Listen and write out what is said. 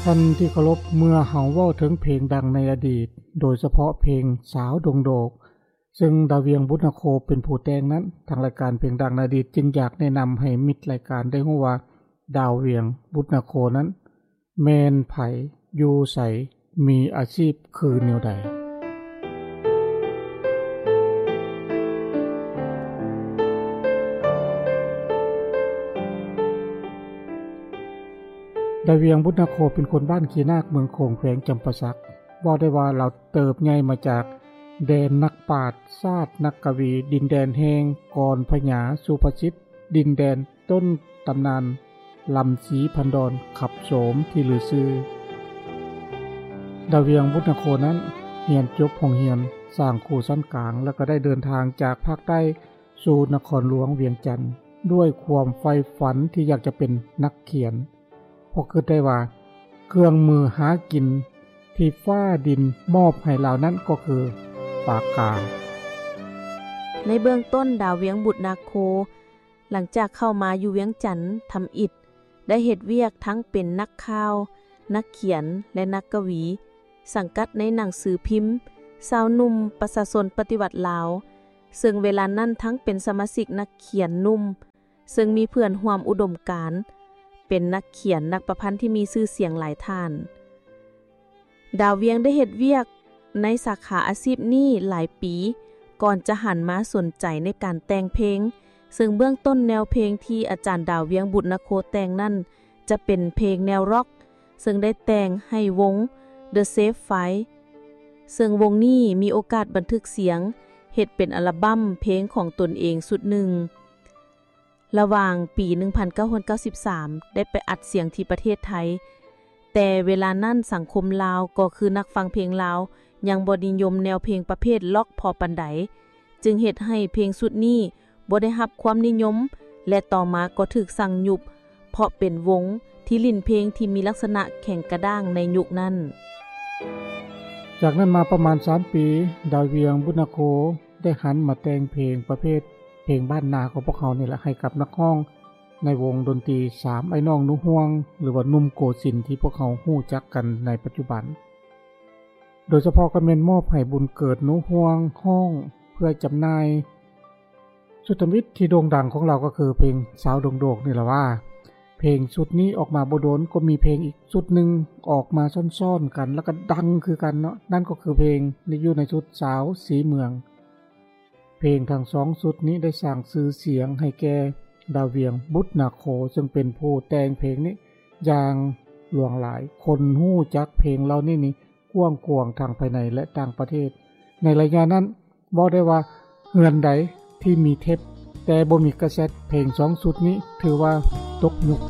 ທ່ານທີ່ເຄົາລົບ, ເມື່ອເຮົາເວົ້າເຖິງເພງດັງໃນອະດີດ, ໂດຍສະເພາະເພງສາວດົງໂດກ ເຊິ່ງດາວວຽງ ບຸດນາໂຄ ເປັນຜູ້ແຕ່ງນັ້ນ, ທາງລາຍການເພງດັງໃນອະດີດຈຶ່ງຢາກແນະນຳໃຫ້ມິດລາຍການໄດ້ຮູ້ວ່າ ດາວວຽງ ບຸດນາໂຄ ນັ້ນແມ່ນໃຜ, ຢູ່ໃສ, ມີອາຊີບຄືແນວໃດ. ດາວວຽງ ບຸດນາໂຄ ເປັນຄົນບ້ານຂີ້ນາກ ເມືອງໂຂງ ແຂວງຈຳປາສັກ. ເວົ້າໄດ້ວ່າລາວເຕີບໃຫຍ່ມາຈາກແດນນັກປາດຊາດ ນັກກະວີ, ດິນແດນແຫ່ງກອນພະຍາສຸພາສິດ, ດິນແດນຕົ້ນຕຳນານລຳຊີພັນດອນ ຂັບໂສມທີ່ລືຊື່. ດາວວຽງ ບຸດນາໂຄ ນັ້ນຮຽນຈົບໂຮງຮຽນສ້າງຄູຊັ້ນກາງ ແລ້ວກໍໄດ້ເດີນທາງຈາກພາກໃຕ້ສູ່ນະຄອນຫຼວງວຽງຈັນ ດ້ວຍຄວາມໃຝ່ຝັນທີ່ຢາກຈະເປັນນັກຂຽນ. ເພາະຄິດໄດ້ວ່າເຄື່ອງມືຫາກິນທີ່ຟ້າດິນມອບໃຫ້ລາວນັ້ນກໍຄືປາກກາ. ໃນເບື້ອງຕົ້ນ ດາວວຽງ ບຸດນາໂຄ ຫຼັງຈາກເຂົ້າມາຢູ່ວຽງຈັນທຳອິດ ໄດ້ເຮັດວຽກທັງເປັນນັກຂ່າວ, ນັກຂຽນ ແລະ ນັກກະວີ, ສັງກັດໃນໜັງສືພິມຊາວໜຸ່ມປະຊາຊົນປະຕິວັດລາວ, ເຊິ່ງເວລານັ້ນທັງເປັນສະມາຊິກນັກຂຽນໜຸ່ມ ເຊິ່ງມີເພື່ອນຮ່ວມອຸດົມການ ເປັນນັກຂຽນນັກປະພັນທີ່ມີຊື່ສຽງຫຼາຍທ່ານ. ດາວວຽງໄດ້ເຮັດວຽກໃນສາຂາອາຊີບນີ້ຫຼາຍປີ ກ່ອນຈະຫັນມາສົນໃຈໃນການແຕ່ງເພງ, ເຊິ່ງເບື້ອງຕົ້ນແນວເພງທີ່ອາຈານດາວວຽງ ບຸດນາໂຄ ແຕ່ງນັ້ນຈະເປັນເພງແນວຣັອກ, ເຊິ່ງໄດ້ແຕ່ງໃຫ້ວົງ The Safe Five, ເຊິ່ງວົງນີ້ມີໂອກາດບັນທຶກສຽງເຮັດເປັນອັລະບັ້ມເພງຂອງຕົນເອງຊຸດໜຶ່ງ. ລະຫວ່າງປີໜຶ່ງພັນເກົ້າຮ້ອຍເກົ້າສິບສາມ ໄດ້ໄປອັດສຽງທີ່ປະເທດໄທ, ແຕ່ເວລານັ້ນສັງຄົມລາວ ກໍຄືນັກຟັງເພງລາວ ຍັງບໍ່ນິຍົມແນວເພງປະເພດລັອກພໍປານໃດ, ຈຶ່ງເຮັດໃຫ້ເພງຊຸດນີ້ບໍ່ໄດ້ຮັບຄວາມນິຍົມ ແລະ ຕໍ່ມາກໍຖືກສັ່ງຍຸບ ເພາະເປັນວົງທີ່ຫຼິ້ນເພງທີ່ມີລັກສະນະແຂງກະດ້າງໃນຍຸກນັ້ນ. ຈາກນັ້ນມາປະມານສາມປີ, ດາວວຽງ ບຸດນາໂຄ ໄດ້ຫັນມາແຕ່ງເພງປະເພດເພງບ້ານນາຂອງພວກເຮົານີ້ແຫຼະ ໃຫ້ກັບນັກຮ້ອງໃນວົງດົນຕີສາມອ້າຍນ້ອງໜູຫ່ວງ ຫຼືວ່າໜຸ່ມໂກສິນທີ່ພວກເຮົາຮູ້ຈັກກັນໃນປັດຈຸບັນ. ໂດຍສະເພາະກໍແມ່ນມອບໃຫ້ບຸນເກີດ ໜູຫ່ວງ ຮ້ອງເພື່ອຈຳໜ່າຍ. ຊຸດທຳອິດທີ່ໂດ່ງດັງຂອງລາວກໍຄືເພງສາວດົງໂດກນີ້ລະວ່າ. ເພງຊຸດນີ້ອອກມາບໍ່ດົນ ກໍມີເພງອີກຊຸດໜຶ່ງອອກມາຊ້ອນໆກັນ ແລ້ວກໍດັງຄືກັນເນາະ, ນັ້ນກໍຄືເພງໃນ ຢູ່ໃນຊຸດສາວສີເມືອງ. ເພງທັງສອງຊຸດນີ້ໄດ້ສ້າງຊື່ສຽງໃຫ້ແກ່ດາວວຽງ ບຸດນາໂຄ ເຊິ່ງເປັນຜູ້ແຕ່ງເພງນີ້ຢ່າງຫຼວງຫຼາຍ. ຄົນຮູ້ຈັກເພງເຫຼົ່ານີ້ນີ້ກວ້າງຂວາງທັງພາຍໃນ ແລະ ຕ່າງປະເທດ. ໃນໄລຍະນັ້ນ ເວົ້າໄດ້ວ່າເຮືອນໃດທີ່ມີເທັບແຕ່ບໍ່ມີກາເຊັດ ເພງສອງຊຸດນີ້ຖືວ່າຕົກຍຸກ.